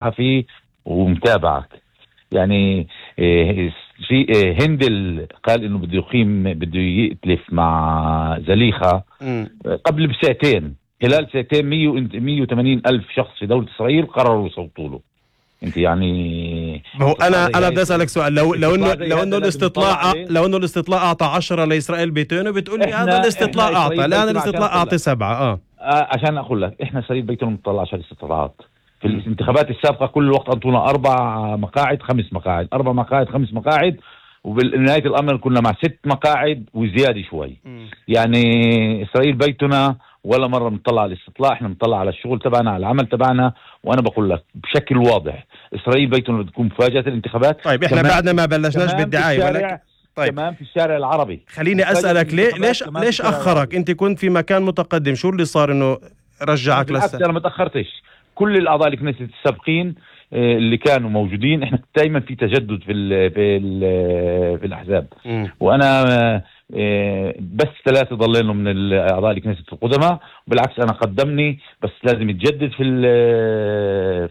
صحفي ومتابعك. يعني في هندل قال انه بده يأتلف مع زليخة قبل بساعتين، خلال ساعتين 180 ألف شخص في دولة إسرائيل قرروا يصوتوا له. انت يعني هو انا بدي اسالك سؤال، لو انه الاستطلاع اعطى 10 لإسرائيل بيتينو، بتقول لي هذا الاستطلاع اعطى، الان الاستطلاع اعطى 7. عشان اقول لك احنا إسرائيل بيتينو مطلع على الاستطلاعات. في الانتخابات السابقة كل وقت أنطونا 4 مقاعد 5 مقاعد 4 مقاعد 5 مقاعد، وبالنهاية الأمر كنا مع 6 مقاعد وزيادة شوي. يعني إسرائيل بيتنا ولا مرة بنطلع على الاستطلاع، احنا بنطلع على الشغل تبعنا، على العمل تبعنا. وانا بقول لك بشكل واضح إسرائيل بيتنا بتكون مفاجأة الانتخابات. طيب احنا بعدنا ما بلشناش بالدعاية، ولكن طيب كمان في الشارع العربي. خليني أسألك ليش أخرك؟ أنت كنت في مكان متقدم، شو اللي صار إنه رجعك لسه؟ أنا ما تأخرتش. كل الأعضاء الكنيست السابقين اللي كانوا موجودين، احنا دائما في تجدد في الأحزاب. وأنا بس 3 ضلينا من الأعضاء الكنيست القدماء، بالعكس أنا قدمني، بس لازم يتجدد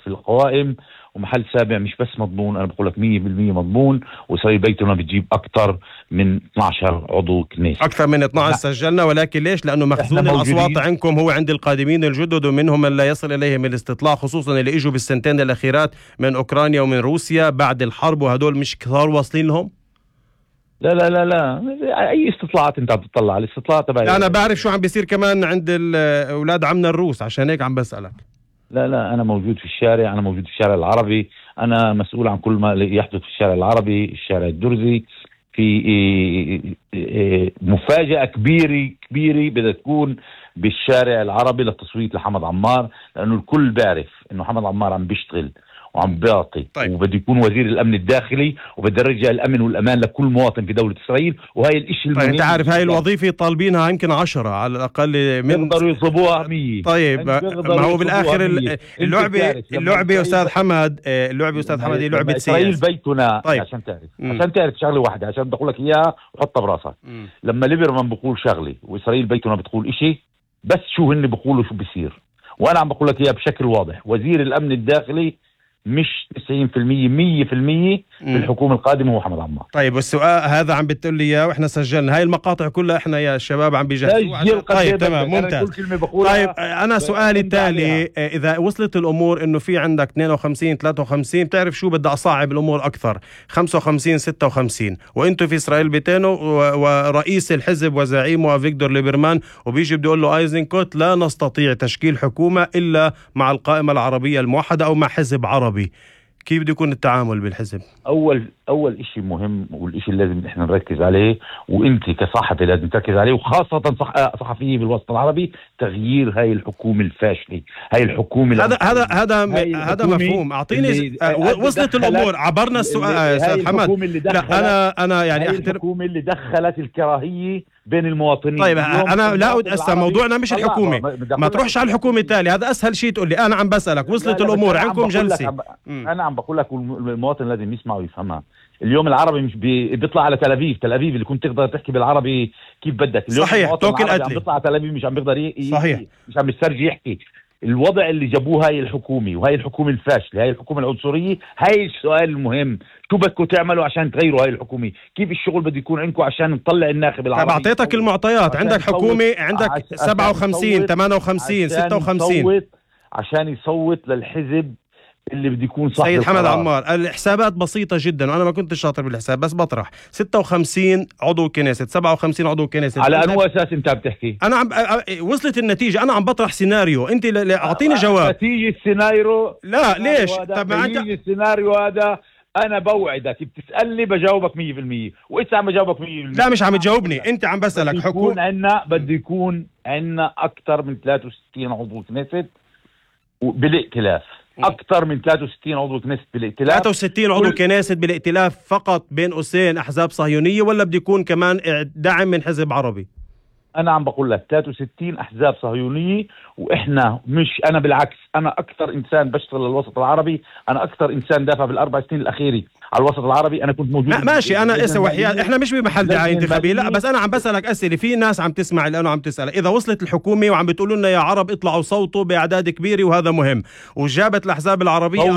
في القوائم. ومحل سابع مش بس مضمون، أنا بقول لك 100% مضمون. وإسرائيل بيتنا بتجيب أكثر من 12 عضو كنيسة، أكثر من 12 سجلنا. ولكن ليش؟ لأنه مخزون الأصوات عندكم هو عند القادمين الجدد، ومنهم من لا يصل إليهم الاستطلاع، خصوصا اللي إجوا بالسنتين الأخيرات من أوكرانيا ومن روسيا بعد الحرب، وهدول مش كثار واصلين لهم. لا لا لا لا، أي استطلاعات أنت عم تطلع على الاستطلاع تبعي؟ أنا بعرف شو عم بيصير كمان عند أولاد عمنا الروس، عشان هيك عم بسألك. لا أنا موجود في الشارع، أنا موجود في الشارع العربي، أنا مسؤول عن كل ما يحدث في الشارع العربي، الشارع الدرزي. في مفاجأة كبيرة بدها تكون بالشارع العربي للتصويت لحمد عمار، لأنه الكل بيعرف إنه حمد عمار عم بيشتغل وعم بيعطي. طيب. وبده يكون وزير الأمن الداخلي، وبده يرجع الأمن والأمان لكل مواطن في دولة إسرائيل، وهي الإشي المهم. انت عارف هاي الوظيفة طالبينها يمكن 10 على الأقل، من يقدروا يصبوها 100. طيب ما هو بالآخر اللعبة أستاذ حمد، اللعبة أستاذ حمد هي لعبة إسرائيل بيتنا. طيب. عشان تعرف شغلة واحدة، عشان بدي أقول لك إياها وحطها براسك. لما ليبرمان بقول شغلة وإسرائيل بيتنا بتقول إشي، بس شو هن بقولوا شو بيصير. وأنا عم بقول لك إياها بشكل واضح، وزير الأمن الداخلي مش 90% 100% بالحكومة القادمة هو حمد عمار. طيب والسؤال هذا عم بتقول لي اياه، واحنا سجلنا هاي المقاطع كلها، احنا يا شباب عم بيجهزوا. طيب تمام ممتاز. طيب انا سؤالي التالي، اذا وصلت الامور انه في عندك 52 53، بتعرف شو بدي اصعب الامور اكثر، 55 56، وانتم في اسرائيل بيتينو ورئيس الحزب وزعيمه افيغدور ليبرمان، وبيجي بده يقول له ايزنكوت لا نستطيع تشكيل حكومة الا مع القائمة العربية الموحدة او مع حزب عربي. كيف بده يكون التعامل بالحزب؟ أول إشي مهم، والإشي اللي لازم إحنا نركز عليه، وإنت كصحفي لازم تركز عليه، وخاصة صحفية بالوسط العربي، تغيير هاي الحكومة الفاشلة، هاي الحكومة. هذا مفهوم. أعطيني وصلت الأمور، عبرنا السؤال أستاذ حمد. لا أنا يعني الحكومة اللي دخلت الكراهية بين المواطنين. طيب أنا لا أسأل، موضوعنا مش الحكومة، ما تروحش على الحكومة التالي، هذا أسهل شيء تقول لي. أنا عم بسألك وصلت الأمور عندكم جلسة. أنا عم بقول لك المواطن لازم يسمع ويفهمها. اليوم العربي مش بيطلع على تل أبيب اللي كنت تقدر تحكي بالعربي كيف بدك. اليوم صحيح، توكل عم بيطلع على تل أبيب مش عم بيقدر صحيح، مش عم بيسترجي يحكي. الوضع اللي جابوه هاي الحكومة، وهاي الحكومة الفاشلة، هاي الحكومة العنصرية، هاي السؤال المهم، شو بدكم تعملوا عشان تغيروا هاي الحكومة؟ كيف الشغل بده يكون عندكم عشان نطلع الناخب العربي؟ طيب أعطيتك المعطيات، عندك حكومة، عندك 57 58 56 عشان يصوت للحزب اللي بده يكون صاحب سيد حمد عمار. الحسابات بسيطة جدا، وأنا ما كنت شاطر بالحساب، بس بطرح 56 عضو كنيسة، 57 عضو كنيسة. على أنه أساس أنت بتحكي؟ أنا وصلت النتيجة، أنا عم بطرح سيناريو، أنت أعطيني جواب. نتيجة السيناريو؟ لا ليش؟ طب ما أنت السيناريو هذا أنا بوعدك بتسألني بجاوبك 100%، وإنت عم بجاوبك 100%. لا مش عم تجاوبني، أنت عم بسألك حكومة. بده يكون عنا أكثر من 63 عضو كنيسة بالائتلاف، أكثر من 63 عضو كنيسة بالائتلاف. 63 عضو كنيسة بالائتلاف فقط بين قوسين أحزاب صهيونية، ولا بده يكون كمان دعم من حزب عربي؟ أنا عم بقول لك 63 أحزاب صهيونية، وإحنا مش، أنا بالعكس، أنا أكثر إنسان بشتغل للوسط العربي، أنا أكثر إنسان دافع بال4 سنين الأخيرة على الوسط العربي أنا كنت موجود. ماشي، أنا اسا وحياة إحنا مش بمحل دعاية انتخابية، لا بس أنا عم بسألك أسئلة، في ناس عم تسمع الآن وعم تسأل إذا وصلت الحكومة وعم بتقولوا لنا يا عرب اطلعوا صوتوا بأعداد كبيرة وهذا مهم، وجابت الأحزاب العربية